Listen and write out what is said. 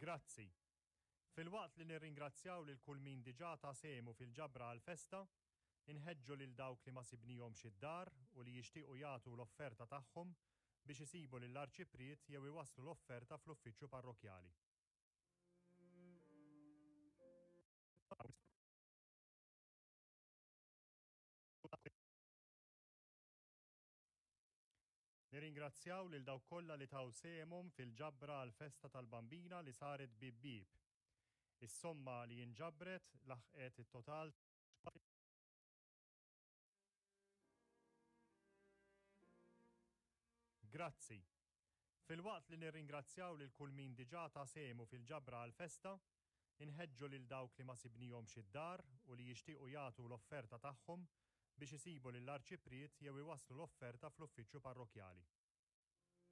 Grazzi. Filwaqt li nirringrazzjaw lil kull min diġà ta sehmu fil-ġabra għall-festa, inħeġġu lil dawk li ma sibnihomx id-dar u li jixtiequ jagħtu l-offerta tagħhom biex isibu lill-Arċipriet jew iwasslu l-offerta fl-uffiċċju parrokkjali. Nirringrazzjaw lil dawk kollha li taw sehemhom fil-ġabra għall-festa tal-Bambina li saret bieb bieb. Is-somma li inġabret laħqet it-total ta'. Grazzi. Filwaqt li nirringrazzjaw lil kull min diġà ta sehmu fil-ġabra għall-festa, inħeġġu lil dawk li ma sibnihomx id-dar u li jixtiequ jagħtu l-offerta tagħhom biex isibu lill-Arċipriet jew iwasslu l-offerta fl-uffiċċju parrokkjali.